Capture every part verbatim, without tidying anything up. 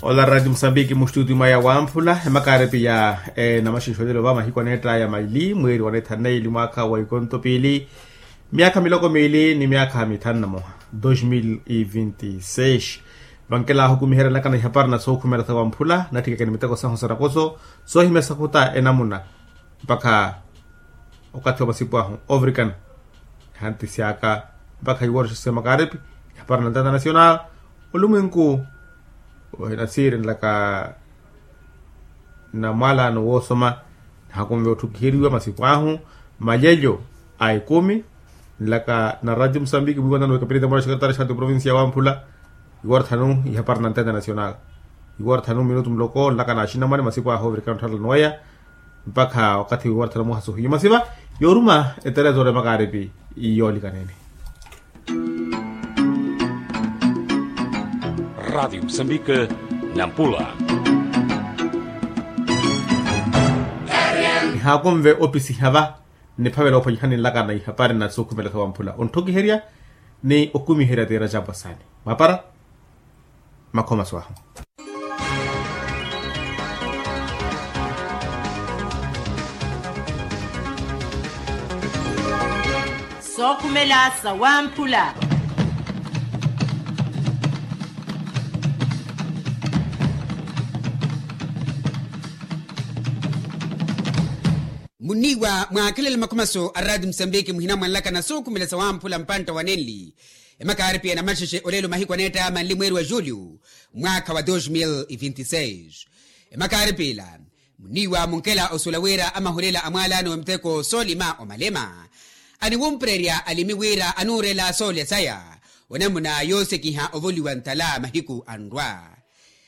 Ola rati musambiki mustutio mwa yawamphula emakaaripi ya enamaxinxolelo va mahiku aneettaya maili mweeri wa neethanu na ili mwaakha wa ikonto piili myaakha miloko miili ni myaakha mithanu na moha. Dos mil e vinti seis. Vankela ahukumiherya nlakana ihapari na sookhumela sawamphula natthikeke ni miteko sahu sarakoso soohimya sakhuta enamuna mpakha okathi wa masipu ahu ovirikana. Ehanti syaka mpakha iworoxa siya makaaripi ihapari na ntanta nasional olumwinku ohinasiiri nlaka na mwalaano woosoma. Nihakunve otthukiheriwa masipu ahu malelyo a ekumi nlaka na radio musambiki mwiiwanano wekapilita mura sekretaria xaati provincia wamphula iworothanu ihapari na ntanta nasional iworothanu minutu muloko nlaka na axinamwane masipu ahu ovirikana ottharela noweya mpakha wakathi wiwarathana muhasuhiyo masiva yooruma eterezo ore makaaripi. Yoolikanene. Radiyo musambika nampula. Ihaakunve opisiha va niphavela ophwanyihani nlaka na ihapari na sookhumela sawamphula ontthukiherya ni okumiherya tiira jaapwasani mwapara. Makhomaso ahu. Sookhumela sawamphula. Munniiwa mwaakhelela makhomaso a rati musambiki muhina mwanlaka na sookhumela sawamphula mpantta wa nenli. Emakaaripi ya namaxexe olelo mahiku aneetta manli mweeri wa julio mwaakha wa dos mil e vinti seis. Emakaaripi ila muniiwa munkela osuwela wira amahulela a mwalaano wa miteko soolima omalema aniwumpererya alimi wira anuurela soolya saya onamuna yoosekiha ovoliwa ntala mahiku anrwa.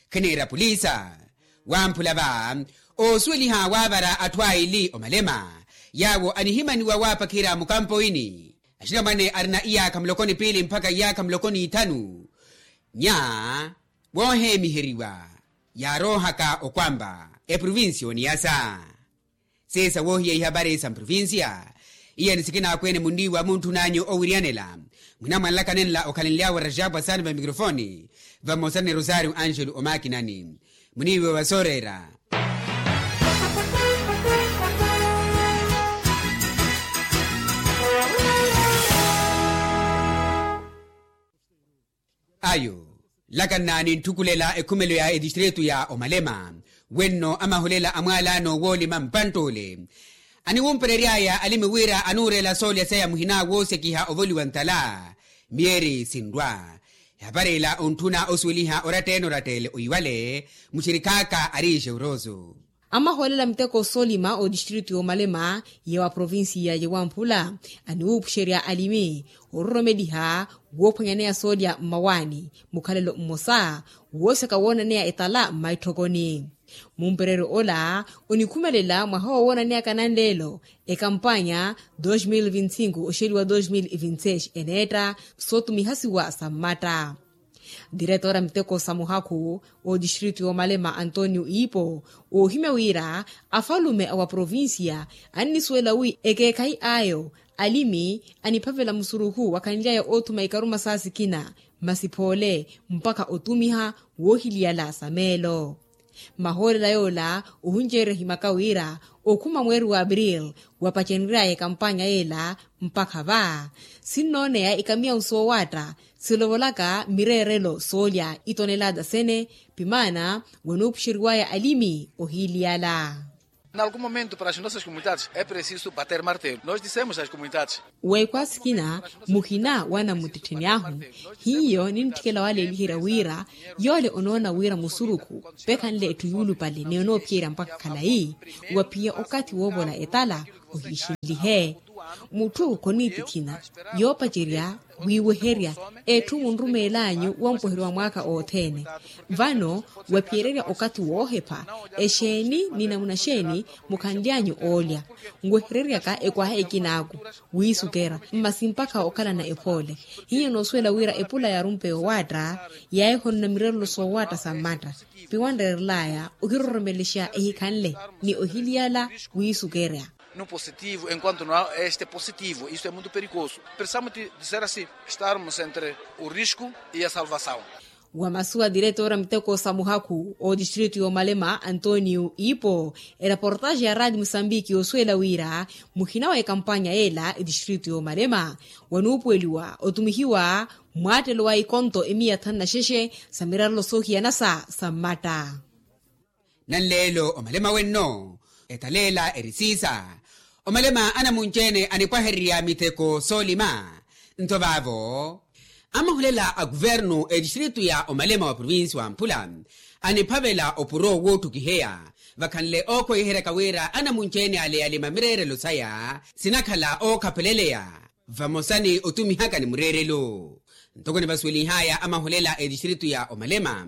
Khiniira polisa wamphula va oosuweliha waavara atthu aili omalema yaawo anihimaniwa waapakhira mukampoini. Axinamwane arina iyaakha muloko ni piili mpakha iyaakha muloko n'ithanu nya wooheemiheriwa yaaroohaka okwamba eprovincia oniyasa. Seesa woohiya ihapari sa mprovincia iya ni sikina akweene munniiwa muntthunanyu owiriyanela mwina mwanlakanenla okhalenly'awe rajaapu asaani va mikrofoni vamosa ni rosario angelo omakinani. Muniiwe wa sooreera. Ayo lakanna ninthukulela ekhumelo ya etistritu ya omalema wenno amahulela a mwalaano woolima mpantt'ule aniwumperery'aya alimi wira anuureela soolya saya muhina woosekiha ovoliwa ntala. Myeeri sinrwa ehapari ila ontthuna osuweliha oratta-ene oratta-ele oiwale muxirikhaaka ari xeuroso. Amahoolela miteko soolima otistritu y'omalema ya wa provincia ya wamphula aniwuupuxerya alimi ororomeliha woophwanyaneya soolya mmawaani mukhalelo mmosa wooseka woonaneya etala mmaitthokoni. Mumpereryo ola onikhumelela mwaha woowananeyaka nanleelo ekampanya dos mil vinti cinco oxeliwa dos mil vinti seis eneetta sootumihasiwa sa mmatta. Diretora miteko sa muhakhu otistritu y'omalema antonio iipo oohimya wira afalume a wa provincia annisuwela wi ekeekhayi ayo alimi aniphavela musurukhu wakhanly'aya oothuma ikaruma sa sikina masi phoole mpakha otumiha woohiliyala sa meelo. Mahoolela yoola ohinceerya ohimaka wira okhuma mweeri wa april wapacenery'aya ekampanya yeela mpakha va sinnooneya ikamiyawu soowaatta silovolaka mireerelo soolya itonelata sene pimaana wanuupuxeriwaya alimi ohiiliyala. N'algum momento para as nossas comunidades é preciso bater martelo nós dissemos as comunidades. Weekhwa sikina muhina wa namuttettheni ahu hiyo nintthikela waleeliherya wira yoole onoona wira musurukhu pekhanle etthu yuulupale ni onoophiyerya mpakha khalayi waphiya okathi woovola etala ohiixinlihe. Mutthu khoniitikhina yoopacerya wiiweherya etthu munrumeel'anyu wampoheryo wa mwaakha othene. Vano waphiyererya okathi woohepha exeeni ni namuna xeeni mukhanly'anyu oolya nwehereryaka ekwaha ekinaaku wiisukera masi mpakha okhalana ephoole. Hiyo noosuwela wira epula yaarumpe yoowaatta yaahihonona mirerelo soowaatta sa mmatta piwanreerel'aya ohiroromelexa ehikhanle ni ohiliyala wiisukerya. No positivo enquanto no este positivo isto é muito perigoso. Precisamos de dizer assim estarmos entre o risco e a salvação. Wa masu wa diretora miteko sa muhakhu o distritu y'omalema antonio ipo, ereportaxe ya radi musambiki osuwela wira muhina wa ekampanya y'ela edistritu y'omalema wanuupuweliwa otumihiwa mwaattelo wa ikonto emiya thanu na xexe sa mirarelo soohiyanasa sa mmatta. Nanleelo omalema wenno etaleela erisiisa omalema anamunci-ene anipwahererya miteko soolima. Nto vaavo amahulela a kuvernu etistritu ya omalema wa provinsi wa mphula aniphavela opuro woottukiheya vakhanle ookhweiheryaka wira anamunci-ene ale yalima mireerelo saya sinakhala ookhapeleleya vamosa ni otumihaka ni mureerelo. Ntoko nivasuwelinhaya amahulela etistritu ya omalema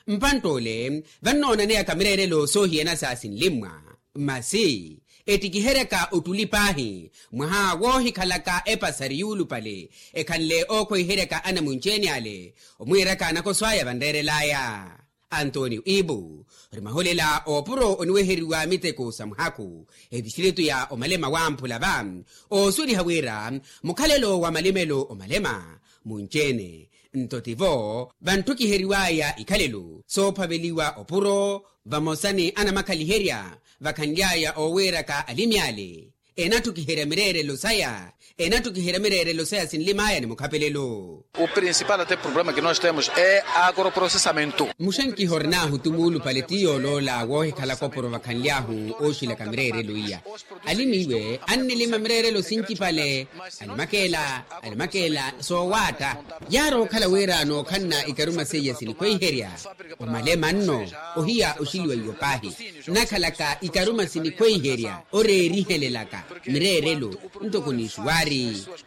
mpantt'ole vannoonaneyaka mireerelo soohiyana sa sinlimmwa masi ettikiheryaka ottuli paahi mwaha woohikhalaka epasari yuulupale ekhanle ookhweiheryaka anamunci-ene ale omwiiraka anakoso aya vanreerel'aya. Antonio ibu ori mahulela oopuro oniweheriwa miteko sa muhakhu etistritu ya omalema wamphula va oosuweliha wira mukhalelo wa malimelo omalema munci-ene nto tivo vantthukkiheriw'aya ikhalelo soophaveliwa opuro vamosa ni anamakhaliherya vakhanly'aya oowiiraka alimi ale enatthukiherya mireerelo saya enatthukiherya mireerelo saya sinlim'aya ni mukhapelelo. O principal até problema que nós temos é agroprocessamento. Muxankiha ori n'ahu ti muulupale ti yooloola woohikhalaka opuro vakhanly'ahu ooxilaka mireerelo iya alimi iwe annilima mireerelo sincipale alimakeela alimakeela soowaatta yaari okhala wira nookhanna ikaruma seiya sinikhweiherya omalema nno ohiya oxiliwa iwo paahi nakhalaka ikaruma sinikhweiherya oreerihelelaka mireerelo ntoko n'ixuwaari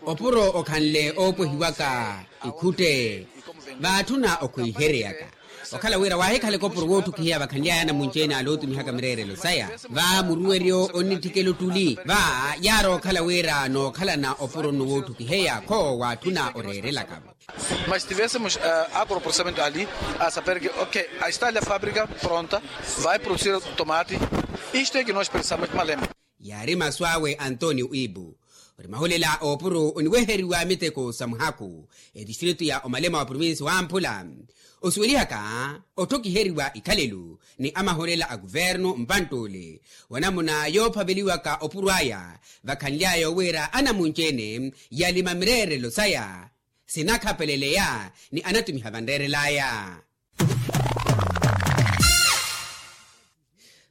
opuro okhanle oopwehiwaka ikhutte vaatthuna okhweihereyaka okhala wira waahikhala ekopuro woottukiheya vakhanly'aya anamunci-ene ale ootumihaka mireerelo saya va muruweryo onnitthikela ottuli va yaari okhala wira nookhalana opuro nno woottukiheya kho waatthuna oreerelaka-vo. Mas tivéssemos agroprocessamento ali a saber que ok a esta ali a fábrica pronta vai produsir tomate. Isto é que nós precisamos malema. Yaari masu awe antonio ibu ori mahulela oopuro oniweheriwa miteko sa muhakhu etistritu ya omalema wa provinsi wamphula osuwelihaka otthokiheriwa ikhalelo ni amahulela a kuvernu mpantt'ule wa namuna yoophaveliwaka opuro aya vakhanly'aya owiira anamunci-ene yalima mireerelo saya sinakhapeleleya ni anattumiha vanreerel'aya.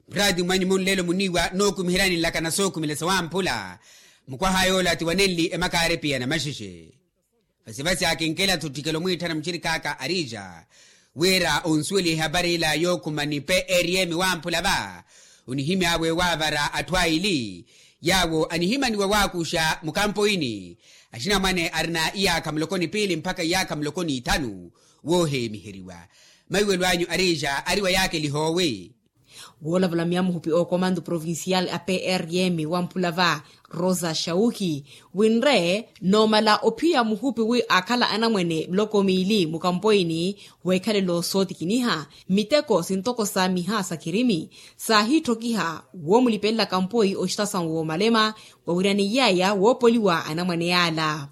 Muraati mwanyu munlelo muniiwa nookumiheryani nlakana sookumilesa wamphula mukwaha yoola ti wanenli emakaari piya na maxexe. Vasivasi akinkela-tho ttikelo mwiitthana muxirik'aka arija wira onsuweliha ehapari ila yookhuma ni prm wamphula va onihimy'awe waavara atthu aili yaawo anihimaniwa waakuxa mukampoini axinamwane arina iyaakha muloko ni piili mpakha iyaakha muloko n'ithanu wooheemiheriwa. Maiwelo anyu arija ari wa yaakeliha owi. Woolavula myamuhupi ookomantu provincial a prm wamphula va rosa shauki winre noomala ophiya muhupi wi aakhala anamwene muloko miili mukampoini weekhalelo sootikiniha miteko sintoko sa miha sa kirimi saahiitthokiha woomulipelelaka mpoi oxitasawu woomalema wawiraniyeya woopoliwa anamwane yaala.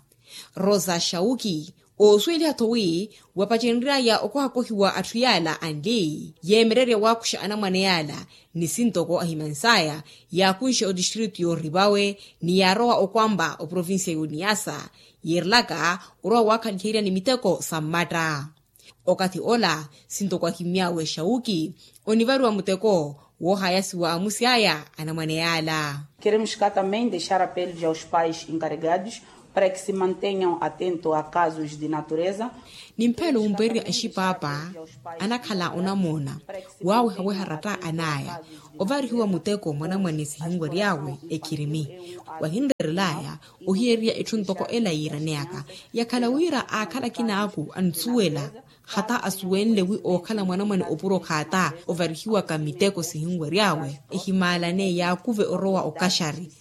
Rosa shauki oosuweliha-tho wi wapacenry'aya okohakohiwa atthu yaala anli yeemererya waakuxa anamwane yaala ni sintoko ahimans'aya yaakunxe otistritu yoorivawe ni yaarowa okwampa oprovincia y'oniyasa yiirelaka orowa waakhaliherya ni miteko sa mmatta. Okathi ola sintoko ahimmy'awe shauki onivariwa muteko woohayasiwa amusi aya anamwane yaala. Keremos ka tambem dexar apelos aos pais encarregados para que se mantenyam atento a casos de natureza. Nimphelo wumpererya axipaapa anakhala onamoona waawehaweha ratta an'aya ovarihiwa muteko mwanamwane sihinwery'awe ekhirimi wahinreerel'aya ohiyererya etthu ntoko ela yiiraneyaka yakhala wira aakhala akin'aku ansuwela hata asuwenle wi ookhala mwanamwane opuro khaata ovarihiwaka miteko sihinwery'awe ehimaalane yaakuve orowa okaxari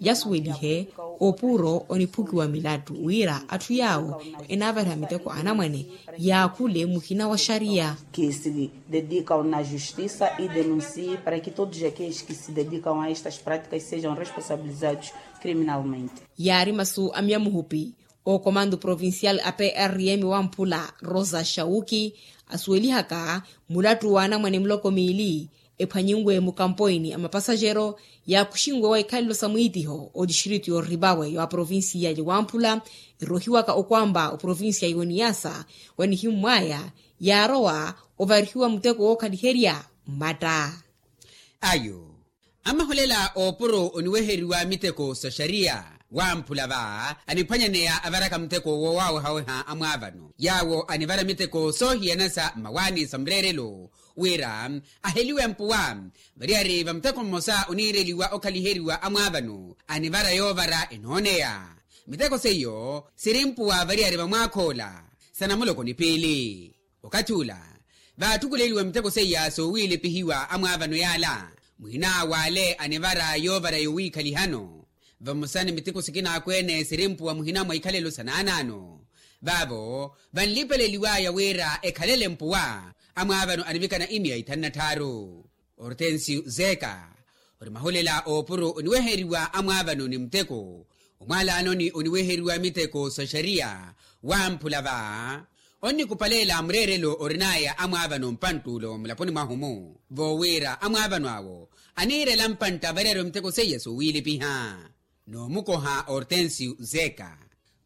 yasuwelihe opuro oniphukiwa milattu wira atthu yaawo enaavariha miteko anamwane yaakhule muhina wa xariya. Que se dedicam na justiça e denuncie para que todos aqueles que se dedicam a estas práticas sejam responsabilizados criminalmente. Yaari masu a myamuhupi Okomandu provincial a prm wamphula rosa shauki asuwelihaka mulattu wa anamwane muloko miili ephwanyinwe mukampoini a mapasajero yaakuxinwe wa ikhalelo sa mwiitiho otistritu yooripawe ya provincia ya wamphula erohiwaka okwamba oprovincia ya oniyasa wanihimmwaya yaarowa ovarihiwa muteko wookhaliherya mmatta. Ayo amaholela oopuro oniweheriwa miteko sa xariya wamphula va aniphwanyaneya avaraka muteko woowawehaweha amwaavano yaawo anivara miteko soohiyana sa mmawaani sa mureerelo wira aheliwe mpuwa variyari va muteko mmosa oniireliwa okhaliheriwa amwaavano anivara yoovara enooneya miteko seiyo siri mpuwa variyari va mwaakhoola sa namuloko ni piili. Okathi ula vaattukuleliwa miteko seiya soowiilepihiwa amwaavano yaala muhina w'ale anivara yoovara yowiikhalihano vamosa ni miteko sikina akweene sirimpuwa muhina mwa ikhalelo sa naanaano vaavo vanlipeleliwaya wira ekhalele mpuwa amwaavano anivikana imiya ithanu na tthaaru. Ortensio zeka ori maholela oopuro oniweheriwa amwaavano ni muteko omwaalaanoni oniweheriwa miteko sa xariya wamphula va onnikupaleela mureerelo orinaya amwaavano mpanttuulo mulaponi mwahu-mu voowira amwaavano awo aniirela mpantta variyari va miteko seiya soowiilipiha. Noomukoha ortensio zeka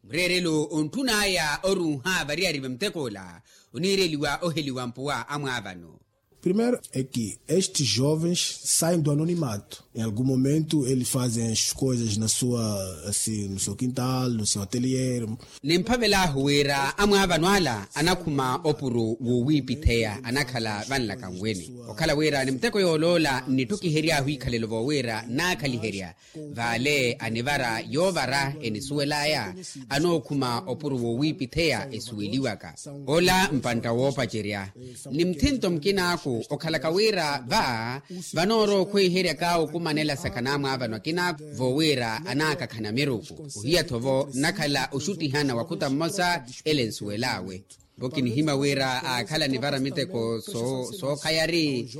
mureerelo ontthunaya oruuha variyari va miteko ola oniireliwa oheliwa mpuwa amwaavano. Primeiro é que estes jovens saem do anonimato em algum momento eles fazem as coisas na sua assim no seu quintal no seu atelier. Nimphavel'ahu wira amwaavano ala anakhuma opuro woowiipitheya anakhala vanlaka nweni okhala wira ni muteko yooloola nnitthukihery'ahu ikhalelo voowira naakhaliherya vale anivara yoovara enisuwel'aya anookhuma opuro woowiipitheya esuweliwaka ola mpantta woopacerya ni muthinto mukinaaku okhalaka wira va vanoorowa okhweiheryaka okumanela sakha n'amwaavano akinaaku voowira anaakakhana miruku ohiya-tho vo nnakhala oxuttihana wakhuta mmosa ele nsuwel'awe vo kinihimya wira aakhala anivara miteko sookhayari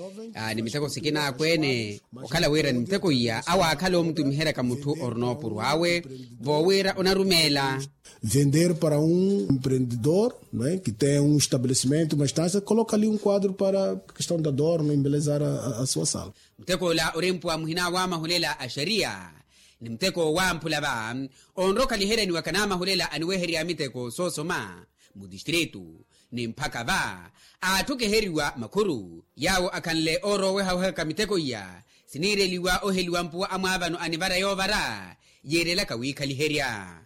ni miteko sikina akweene okhala wira ni miteko iya awo aakhala omutumiheryaka mutthu orina opuro awe voowira onarumeela. Vender para um empreendedor que tem um estabelecimento uma estância coloca ali um quadro para questão da dor no embelezar a sua sala. Muteko ola orimpuwa muhina wa mahulela a xariya ni muteko wamphula va onrokhaliheryaniwaka n'amahulela aniweherya miteko soosoma mutistritu ni mphaka va aatthukiheryiwa makhuru yaawo akhanle oorowehawehaka miteko iya siniireliwa oheliwa mpuwa amwaavano anivara yoovara yiirelaka wiikhaliherya.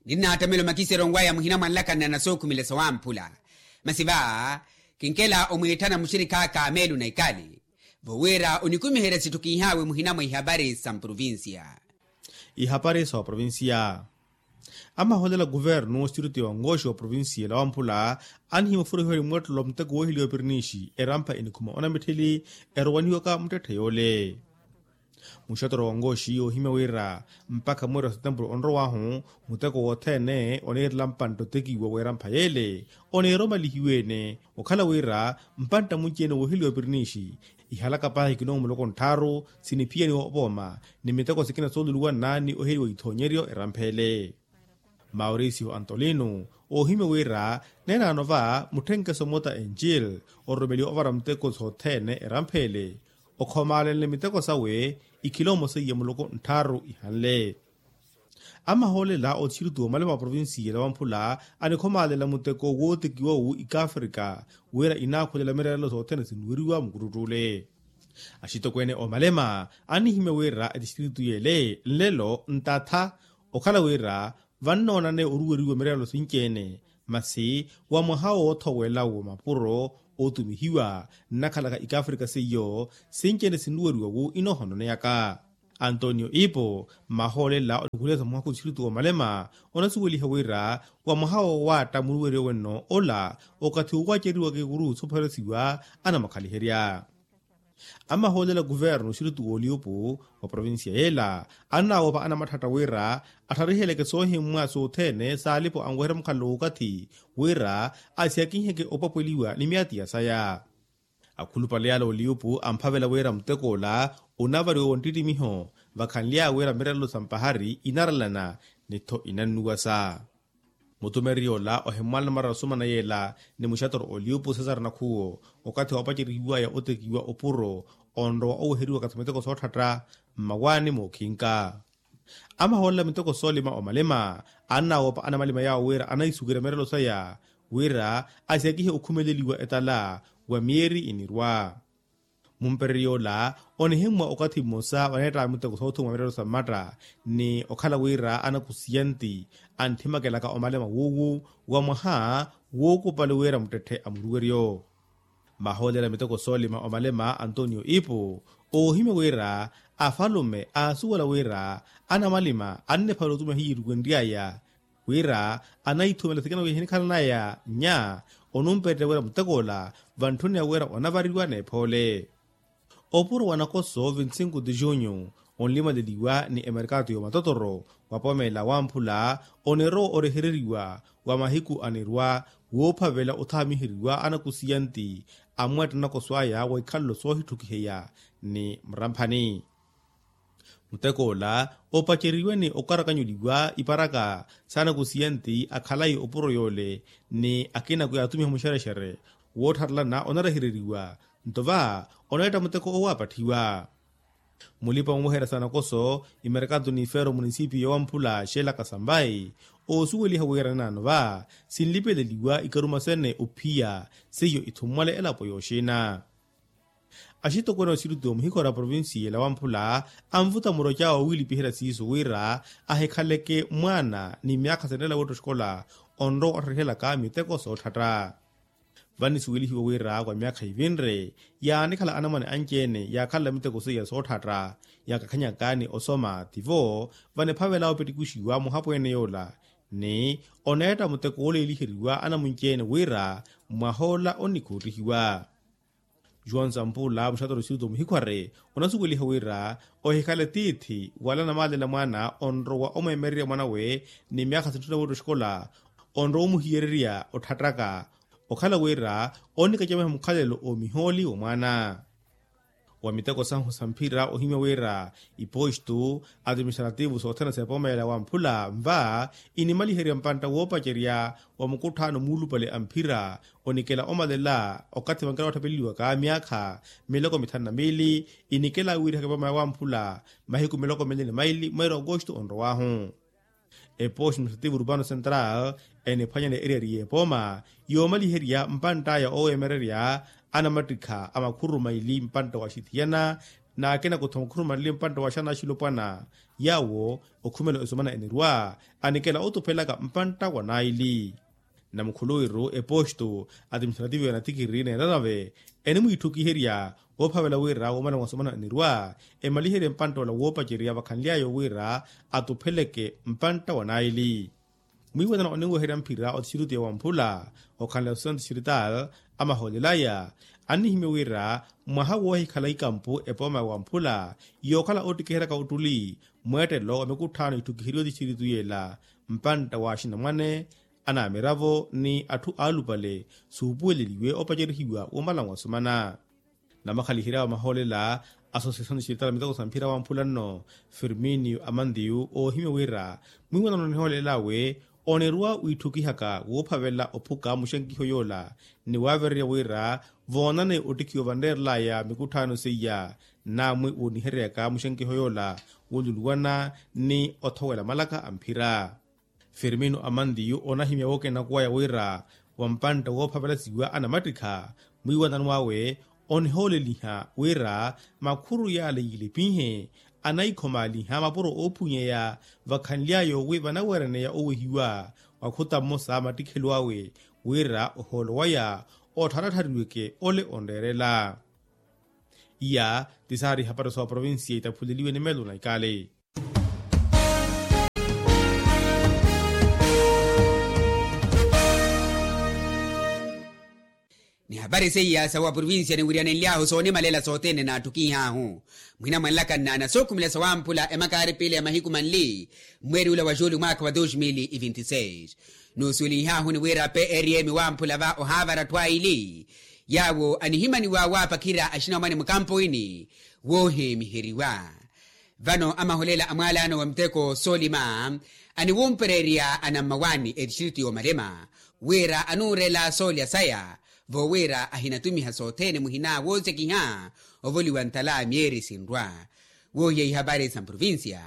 Ninnaatamela omakiseryo onwaya muhina mwa nlakanela na sookhumela sawamphula masi va kinkela omwiitthana muxirikhaaka meelo na ikali voowira onikumiherya sitthu kiihaawe muhina mwa ihapari sa mprovincia. Ihapari sa oprovincia. Amaholela kuvernu oxitiritu ya ongoxi wa provincia ela wamphula anihimufura ohiwari mweettelo wa muteko wooheliwa pirinixi erampha enikhuma onamittheli erowaniwaka muttetthe yoole. Muxotoro wa ongoxi yoohimya wira mpakha mweeri wa setempuru onrow'ahu muteko wothene oniirela mpantta otekiwa w'erampha yeele oniiromalihiwe-ene okhala wira mpantta munci-ene wooheliwa pirinixi ihalaka paahi ikiloomu muloko ntthaaru siniphiyaniwa opooma ni miteko sikina sooluluwanna ni oheliwa ithoonyeryo erampha ele. Mauricio antolino oohimya wira neenaano va mutthenkeso mota enjil ororomeliwa ovara muteko sothene erampha ele okhomaalenle miteko sawe ikhiloomo seiya muloko ntthaaru ihanle. Amahoolela othixiritu omalema wa provincia ela wamphula anikhomaalela muteko wootekiwa-wu ikafrika wira inaakhulela mireerelo sothene sinuweriwa mukuttuttule. Axitokweene omalema annihimya wira etixitiritu yeele nlelo ntatha okhala wira vannoonane oruweriwa mireerelo sinci-ene masi wa mwaha woothowela wa mapuro ootumihiwa nnakhalaka ikafrika seiyo sinci-ene sinuweriwa-wu inoohononeyaka. Antonio ipo mmahoolela onikhulela sa muhakhu tixiritu omalema onasuweliha wira wa mwaha wowaatta muruweryo wenno ola okathi wowaceriwaka ekuru soopheresiwa anamakhaliherya. Amahoolela kuvernu oxiritu wooliupu wa provincia yeela annawoopa anamatthatta wira atthariheleke soohimmwa sothene saalipo anweherya mukhalelo w'okathi wira asihakinheke opwapweliwa ni myaati ya saya. Akhulupale ala oliupu amphavela wira muteko ola onavariwa wa nttittimiho vakhanly'awe wira mireerelo sa mpahari inaralana ni-tho inannuwasa. Mutumeri ola ohimmwala namara osumana yeela ni muxatoro oliupu sesar nakhuwo okathi woopacerihiwaya otekiwa opuro onrowa oweheriwaka sa miteko sootthatta mmawaani mookhinka. Amahoolela miteko soolima omalima annawoopa anamalima yaawo wira anaisuwira mirelo saya wira asiyakihe okhumeleliwa etala wa mieri inirwa. Mumpereryo ola onihimmwa okathi mmosa waneettaka miteko soothumwa mirelo sa mmatta ni okhala wira anakusiyanti anthimakelaka omalema wuuwu wa mwaha wuukupali wira muttetthe a muruweryo. Mahoolela miteko soolima omalema antonio ipu oohimya wira afalume aasuwela wira anamalima anniphala otumiha hiyittuku enry'aya wira anaithumela sikina wiya hinikhalanaya nya onumpererya wira mutek'ola vantthuniya wira onavariwa n'ephoole. Opuro wa nakoso vinti sinku ti junyu onlimaleliwa ni emerkato y'omatotoro wa pomela wamphula onirowa orehereriwa wa mahiku anirwa woophavela othamiheriwa anakusiyanti amwetta nakoso aya wa ikhalelo soohittukiheya ni muramphani. Mutek'ola opaceriwe ni okarakanyuliwa iparaka saanakusiyanti akhalayi opuro yoole ni akinaku yaatumiha muxerexere woottharelana onarehereriwa nto va oneetta muteko owo apatthiwa. Mulipa omuweherya sa nakoso imerkato n'ifeero munisipiyo wamphula xeelaka sambai oosuweliha wira ninaano va sinlipeleliwa ikaruma sene ophiya seiyo ithummwale elapo yooxina. Axitokweene oxirutiwa muhikhora provincia ela wamphula anvuta muroca owiilipiherya siiso wira ahikhaleke mwaana ni myaakha sinrela wetta oxikola onrowa ottharihelyaka miteko sootthatta. Vanisuwelihiwa wira wa myaakha ivinre yaanikhala anamwane anci-ene yaakhalela miteko seiya sootthatta yakakhanyaka ni osoma tivo vaniphavela opittikuxiwa muhapweene yoola ni oneetta muteko wooleeliheriwa anamunci-ene wira mwahoola onnikhoottihiwa. Juan sampula muxatoro oxirutiwa muhikhware onasuweliha wira ohikhale tiithi wala namaalela mwaana onrowa omweemererya mwanawe ni myaakha sintthuna wetta oxikola onrowa omuhiyererya otthattaka okhala wira onnikacamiha mukhalelo oomihooli wa mwaana. Wa miteko sahu sa mphira ohimya wira ipostu atiministrativu sothene s'epomeela wamphula nva inimaliherya mpantta woopacerya wa mukutthaano muulupale a mphira onikela omalela okathi vankela watthapeleliwaka myaakha miloko mithanu na miili inikela wiirihaka epomeela wamphula mahiku miloko minne ni maili mweeri okostu onrowaahu. Epoxi muxativu rupano central eniphwanyana eriyari y'epooma yoomaliherya mpantt'aya ooweemererya anamattikha a makhururu maili mpantta wa xithiyana n'akina kutho makhururu maili mpantta wa xanaxilopwana yaawo okhumela esomana enirwa anikela otuphelaka mpantta wa naili. Namukhuluwiru epoxito atiministrativo ya natikiri n'eranave enimwiitthukiherya woophavela wira womala mwasomana anirwa emaliherye mpantt'ola woopacerya vakhanly'aya wira atupheleke mpantta wa naili. Mwiiwanana oninweherya mphira otixirutiya wamphula okhanle associação distrital amahoolel'aya annihimya wira mwaha woohikhala ikampu epooma ya wamphula yookhala oottikiheryaka ottuli mweettelo wa mikutthaano itthukiheryiwe otixiritu y'ela mpantta wa axinamwane anaamiravo ni atthu aalupale suupuweleliwe opacerihiwa womala mwasomana. Namakhaliherya wa mahoolela associação distrital miteko sa mphira wamphula nno firminio amantiyu oohimya wira mwiiwanano nihoolel'awe onirwa wiitthukihaka woophavela ophuka muxenkiho yoola ni waavererya wira voonane ottikhiwa vanreerel'aya mikutthaano seiya naamwi woonihereryaka muxenkiho yoola wooluluwana ni othowela malaka a mphira. Firmino amantiyu onahimya wookenaku waya wira wa mpantta woophavelasiwa anamattikha mwiiwanano awe onihooleliha wira makhuru yaale yiilipinhe anaikhomaaliha mapuro oophunyeya vakhanly'aya owi vanaweeraneya owehiwa wa khuta mmosa mattikhelo awe wira ohoolo waya ottharatthariweke ole onreerela. Iya ti saari ihapari sa oprovinsiya itaphuleliwe ni meelo na ikale. Ni hapari seiya sa waprovinsiya niwiriyanenly'ahu soonimalela sothene naattukih'ahu mwina mwanlaka nnaana sookhumela sa wamphula emakaari piili ya mahiku manli mmweeri ula wa juulu mwaakha wa dos mil e vinti seis. Nuusuwelih'ahu ni wira prm wamphula va ohaavara atthu aili yaawo anihimaniwa waapakhirya axinamwane mukampoini wooheemiheriwa. Vano amaholela a mwalaano wa muteko soolima aniwumpereerya anammawaani etistritu y'omalema wira anuurela soolya saya, voowira ahinatumiha sothene muhina woosekiha ovoliwa ntala myeeri sinrwa. Woohiya ihapari sa mprovincia,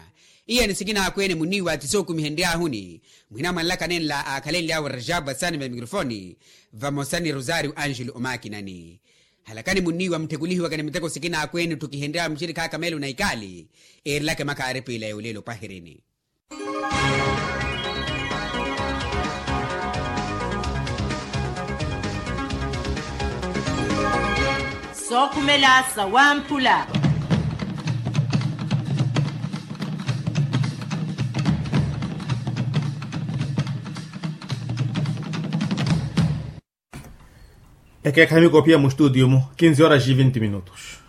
iyani sikina akweene munniiwa ti sookumihenryahuni, muhina mwanlaka nenla aakhalenly'awe rajab asani va mikrofoni, vamosa ni rosario angelo omaakinani. Halakani munniiwa mutthekulihiwakani muteko sikina akweene otthukihenryawe muxirikha akamelo na ikaali, eerelaka emakhaari piila ya olelo opahirini. Sookhumela sawamphula. Ekeekhayi mikophiya mu studio mu kinzi horas e vinte minutos.